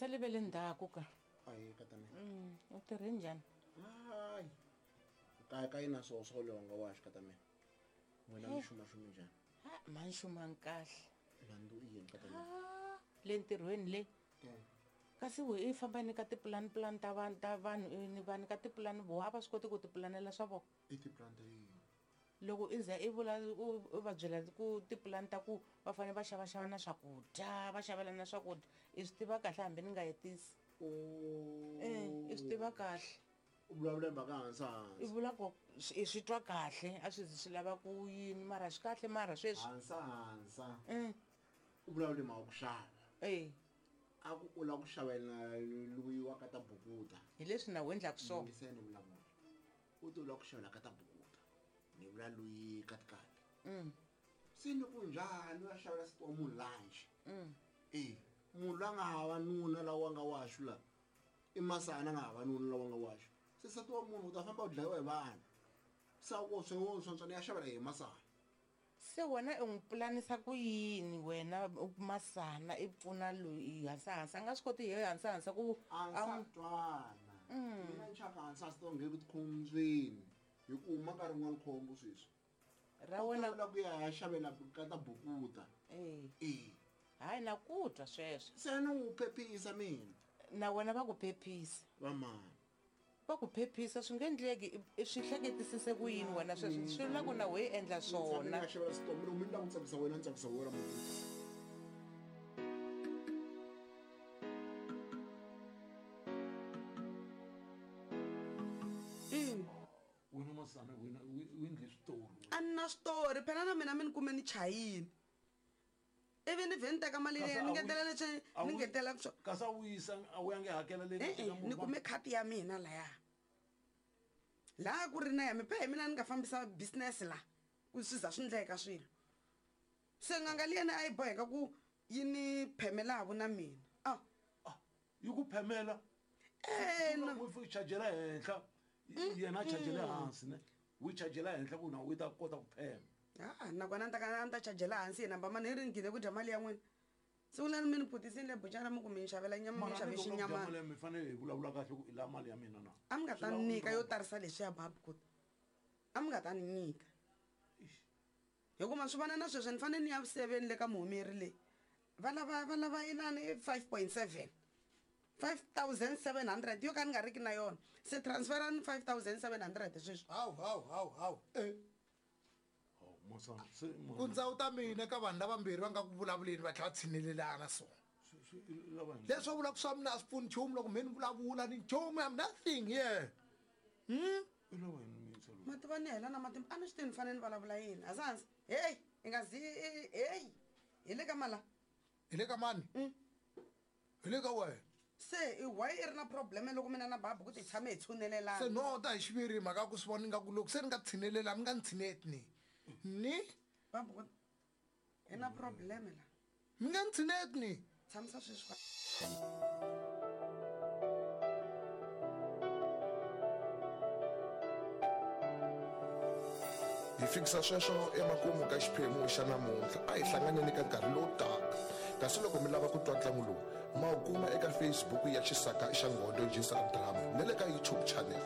sale ve le ndzhaku ka Ayi ka ta mina. U tirhe njhani? Hayi. Kaya ka yina swo swo longa wa xi ka ta mina. N'wina mi xuma xumi njhani? Ha mani xumani kahle. Nandzu i yini ka ta mina? Ah, le ntirhweni le. Kasi we i famba ni ka tipulani pulani ta vanhu ta vanhu ni vanhu ka tipulani voho a va swi koti ku tipulanela swa vona. I tipulani ta yini? Loko i za i vula u va byela ku tipulani ta ku va fanele va xavaxava na swakudya va xavelana na swakudya i swi tiva kahle hambi ni nga hetisi. I swi tiva kahle. U vulavula hi mhaka hansi hansi. I vula ku i swi twa kahle a swi zi swi lava ku yini mara swi kahle mara sweswi. Hansa hansa. U vulavula hi mhaka ku xava. E. A ku u lava ku xavela loyi wa ka ta bukuta. Hi leswi na wena endlaka swona. Yingiseni vulavula. U te u lava ku xavela ka ta bukuta. Ni vula loyi katikati. Se ni ku njhani u ya xavela nsati wa munhu lunch? E munhu loyi a nga hava nuna lawa nga waxu la. I masana a nga hava nuna lawa nga waxu. Se nsati wa munhu u ta famba u dlayiwa hi vanhu. Se a ku swi swantswa ni ya xavela hi masana. Se wena u n'wi pulanisa ku yini wena masana i pfuna loyi hansa hansa a nga swi koti hi hansa hansa ku a a sa twana. Mina ni chava hansa hansa to nghena tikhombyeni hi ku huma nkarhi wun'wani khombo sweswi. Ra wena U ta ku ya xavela ka ta bukuta. E. E. Hayi na ku twa sweswo. Se ni n'wi phephisa mina. Na wena va ku phephisa. Va mani? Va ku phephisa swi nge endleki i swi hleketisise ku yini wena sweswi swi vula ku na wehe endla swona. Ni nga xavela switomi loko mi ni lava ku tsakisa wena ni tsakisa wena muti. Wena masana wena u endle switori. A ni na switori phela na mina mi ni kume ni chayile. Ivi ni vhe ni teka mali leyi ni ngetela leswi ni ngetela swo. Kasi a wu yisa a wu yangi hakela leyi E-e, ni kume khadi ya mina laya. Laha ku ri na ya mi phe hi mina ni nga fambisa business la ku swi za swi ndleka swilo. Se n'anga liyani a yi boheka ku yi ni phemelaku na mina. Ah. Ah, yi ku phemela? E, na. U chajela henhla, yena a chajele hansi ne. U yi chajela henhla ku na u ta kota ku phema. Ah, nakona ni ta ka ni ta chajela hansi yena mbamani hi ri ni gine ku dya mali ya n'wina. Siku leri mi ni phutisini le buchara mi ku mi ni xavela nyama mi ni xave xinyamana. Mara mi fanele hi vulavula kahle ku i la mali ya mina na. A mi nga ta ni nyika yo tarisa leswiya babu ku a mi nga ta ni nyika. Hikuva ma swi vona na sweswi ni fanele ni ya vuseveni le ka muhumeri leyi. Va lava va lava inani 5.7. 5700 yo ka ni nga riki na yona. Se transferani 5700 sweswi. Hawu hawu hawu hawu. Eh. Ku ndzawu ta mina ka vanhu lavambirhi va nga ku vulavuleni va tlhela va tshinelelana so. Leswi va vulaka swa mina a swi pfuni nchumu loko mhe ni vulavula ni nchumu I'm nothing here. Ma tiva ni hela na matimba a ni swi tivi ni fanele ni vulavula yini. Hasansi. Hey, i nga zi hey. Hi le ka mala. Hi le ka mani? Hi le ka wena. Se i why i ri na problem loko mina na babu ku ti tshame hi tshunelelana? Se no ta hi xiviri mhaka ku swi vona ingaku loko se ni nga tshinelela mi nga ni tshineti ni. Ni? Babu ku hi na problem la. Mi nga ni tshineti ni. Tshamisa sweswi. Hi fikisa sweswo emakumu ka xiphemu xa namuntlha. A hi hlanganeni ka nkarhi lowu taka. Kasi loko mi lava ku twa ntlangu lowu, ma wu kuma eka Facebook ya Xisaka xa Nghondo Jisa Drama na le ka YouTube channel.